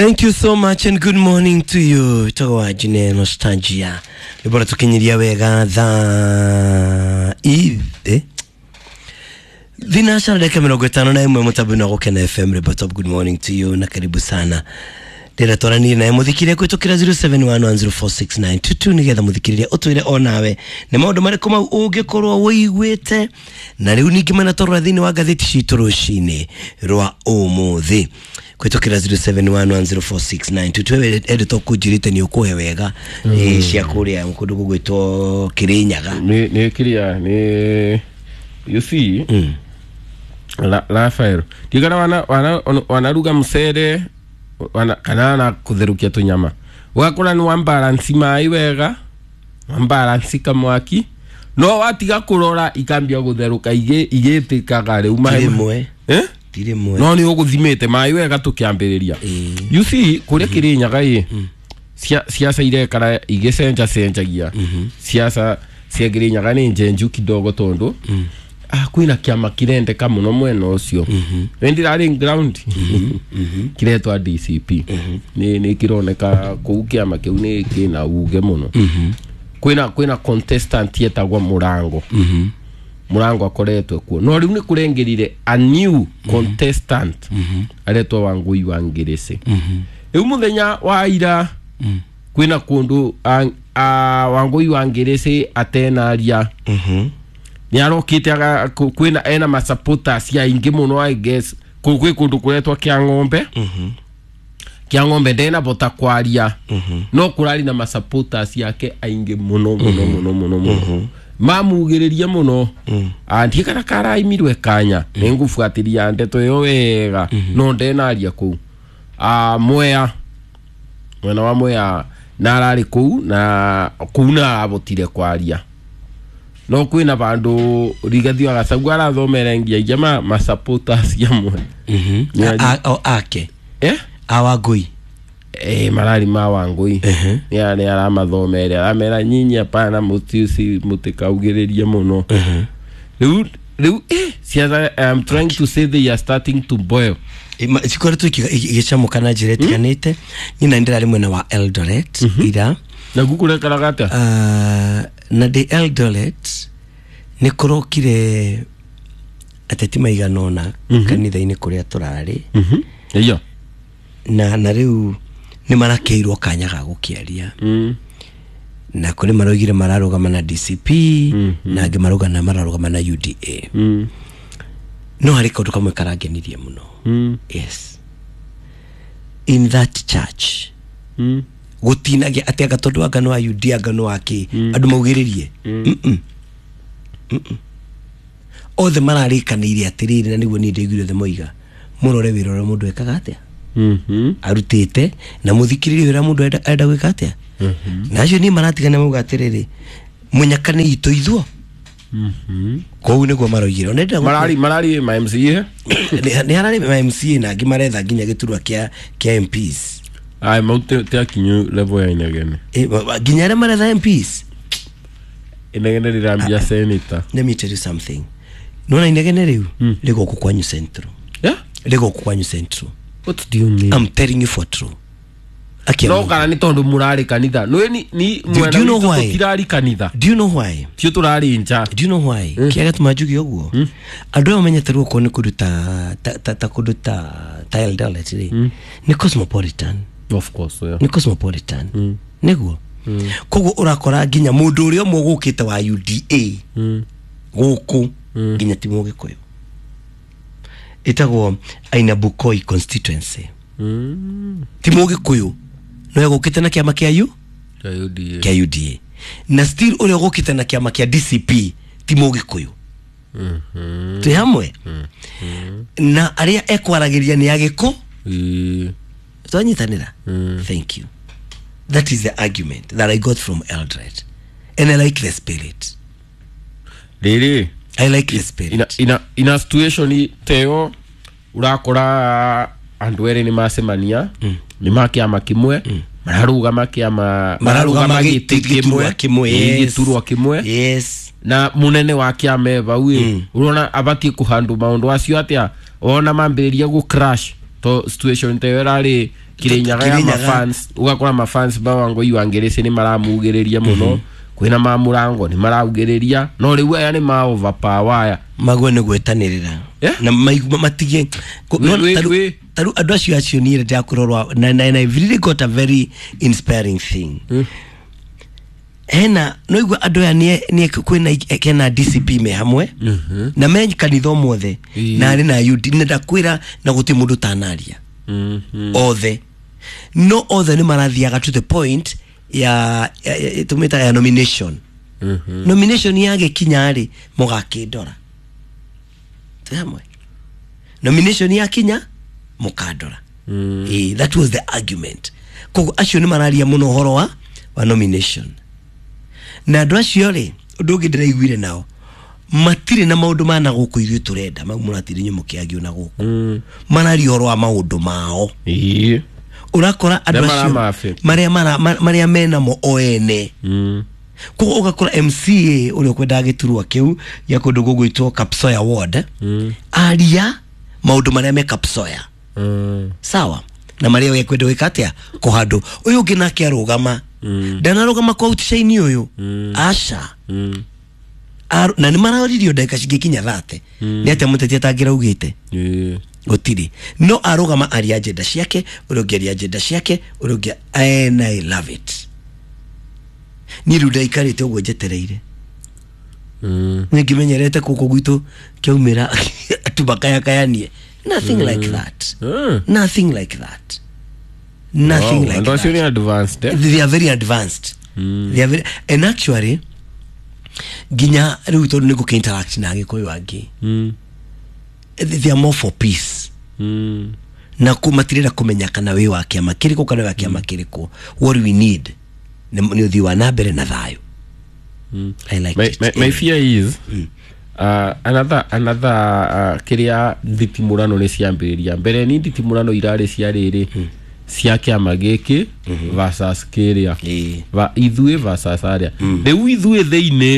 Thank you so much and good morning to you. Ĩtagwo Jine Nostalgia. Nĩ tukinyiria wega thaa ithe thinacara dakika 51 mutambo-inĩ wa Gũkena FM Ribot Top. Good morning to you na karibu sana. Ndĩrenda twaranĩrie nawe mũthikĩrĩria kũhĩtũkĩra 0711046922 nĩgetha mũthikĩrĩria ũtwĩre onawe nĩ maũndũ marĩkũ mau ũngĩkorwo wĩiguĩte na rĩu ningĩ manatwarora thĩinĩ wa ngathĩti citũ rũcinĩ rwa ũmũthĩ kũhĩtũkĩra 0711046922. Ende to kũnjĩrĩte nĩ ũkũhe wega cia kũrĩa kũndũ gũgwĩtwo Kĩrĩnyaga. Nĩ kĩrĩa nĩ you see Rafael ndigana wanaruga mucere kana na kutherukia tunyama ugakora ni wambalansi mai wega, wambalansi kamwaki, no watiga kurora ikambia gutheruka igitikaga riu mai tirimwe no ni uguthimite mai wega tukiambiriria. You see kuria Kirinyaga i siasa irekara igicenja cenjagia siasa cia Kirinyaga ni njenju kidogo tondu kwina kiama kirendeka muno mwena ucio ndirari ground kiretwa DCP ni kironeka kuu kiama kiu ni kina uge muno. Kwina contestant yetagwa Murango. Murango akoretwe kuo no riu ni kurengirire a new contestant aretwa Wangui wa Ngirisi. Riu muthenya wa ira kwina kundu Wangui wa Ngirisi atenaria ni arokite kwina ena masupporters ya ingi muno I guess kwi kundu kuretwa kia ng'ombe. Kia ng'ombe ndena bota kwaria no kurari na masupporters yake aingi muno muno muno muno muno mamugiriria muno andikana karaimirwe kanya ningufuatiria ndeto yo wega no ndenaria kuu Mwea mwena wa Mwea na arari kuu na kuu na abotire kwaria no kwina bandu Rigathi wa Gachagua arathomere ngia jama ma supporters ya mwe ake awangui marari ma Wangui ni aramathomere aramera nyinyi hapana mutiusi mutikaugiririe muno riu siasa. I am trying to say they are starting to boil. Cikoretwo igicamuka na njĩra ĩtiganĩte. Nyina ndĩrarĩ mwena wa Eldoret ira na gukurekaraga atia na ndĩ Eldoret nĩ kũrokire ateti maigana ũna kanitha-inĩ kũrĩa tũrarĩ iyo na rĩu nĩ marakeirwo kanya ga gũkĩaria na kũrĩ maroigire mararũgama na DCP na angĩ mararũgama na UDA. No harĩ kaũndũ kamwe karangenirie mũno. Yes, in that church gutinagia ati anga tondu anga no wa UDA anga no wake andu maugiririe othe mararikanire atiriri na niguo ni ndaiguire othe moiga murore wira uria mundu ekaga atia arutite na muthikiririe wira mundu enda gwika atia na acio ni maratigana mauga atiriri munyakane itu ithuo kou niguo maroigire nenda marari ma MCA ni harari ma MCA na angi maretha nginya giturwa kia MPs ai maute te akinyu level ya Inegene nginya aria maretha MPs Inegene rirambia senator. Let me tell you something. Nona Inegene riu rigoku kwanyu Central. Yeah, rigoku kwanyu Central. What do you mean? I'm telling you for true. No kana ni tondu murari kanitha no ni mwena tirari kanitha. Do you know why? Tio turari nja. Do you know why? Kiaga tumajugi uguo andu aya menyete ruo ni kundu ta kundu ta Eldoret ri ni cosmopolitan. Of course, yeah. Ni cosmopolitan niguo koguo urakora nginya mundu uria umwe gukite wa UDA guku nginya ti Mugikuyu itagwo Aina Bukoi constituency ti Mugikuyu no egukite na kiama kia UDA kia UDA na still uria gukite na kiama kia DCP ti Mugikuyu twi hamwe na aria ekwaragiria ni agiko twanyitanira. Thank you. That is the argument that I got from Eldoret and I like the spirit. Really? I like the spirit. In a situation teo urakora andu ere ni macemania ni ma kiama kimwe mararugama kiama mararugama giti kimwe giturwa kimwe yes na munene wa kiama bau urona abatie kuhandu maundu acio atia wona mambiriria gu crash to situation teo irari Kirinyaga ya mafans ugakora mafans ba Wangui wa Ngirici ni maramugiriria muno, kwina ma Murango ni maraugiriria, no riu aya ni ma overpower aya magwe nĩ gwetanĩrĩra na matige taru andũ acio acio niĩ ndakũrorwa na I've really got a very inspiring thing. Hena no igua andũ aya nĩ kwĩna kena DCP me hamwe na me kanitha mothe na arĩ na UD na ndakwĩra na gũtirĩ mũndũ tanaria othe, no othe nĩ marathiaga to the point ya tumita ya nomination. Nomination yagĩkinya rĩ mũgakĩndora twĩ hamwe, nomination yakinya mũkandora. That was the argument. Koguo acio nĩ mararia mũno ũhoro wa nomination. Na andũ acio rĩ, ũndũ ũngĩ ndĩraiguire nao matirĩ na maũndũ ma na gũkũ ithuĩ tũrenda mau mũratiri inyuĩ mũkĩagio na gũkũ, mararia ũhoro wa maũndũ mao. Ũrakora andũ acio marĩa menamo o ene. Koguo ũgakora MCA ũrĩa ũkwendaga gĩturwa kĩu gĩa kũndũ gũgwĩtwo Kapsoya Ward aria maũndũ marĩa me Kapsoya, sawa, na marĩa we kwenda gwĩka atĩa kũhandũ. Ũyũ ũngĩ nake arũgama, ndanarũgama kwa outshine ũyũ, aca. Na nĩ maroririo ndagĩka cingĩkinya 30 nĩ atĩa mũteti atangĩraugĩte gũtirĩ, no arũgama aria agenda ciake, ũrĩa ũngĩ aria agenda ciake, ũrĩa ũngĩ, and I love it. Niĩ rĩu ndaikarĩte ũguo njetereire, nĩ ngĩmenyerete gũkũ gwitũ kĩaumĩra atu makayakayanie. Nothing like that. Nothing like that. Nothing like that. That. They are advanced. They are very advanced. They are very, and actually ginya rĩu tondũ nĩ gũkĩ interact na Agĩkũyũ angĩ, they are more for peace. Na matirenda kũmenya kana wĩ wa kĩama kĩrĩkũ kana wĩ wa kĩama kĩrĩkũ. What we need nĩ ũthii wa na mbere na thayũ. I like it. My fear is another kiria nditimurano nĩ ciambĩrĩria mbere ni nditimurano irarĩ cia rĩrĩ cia kĩama gĩkĩ versus kĩrĩa ithuĩ versus arĩa rĩu ithuĩ thĩinĩ.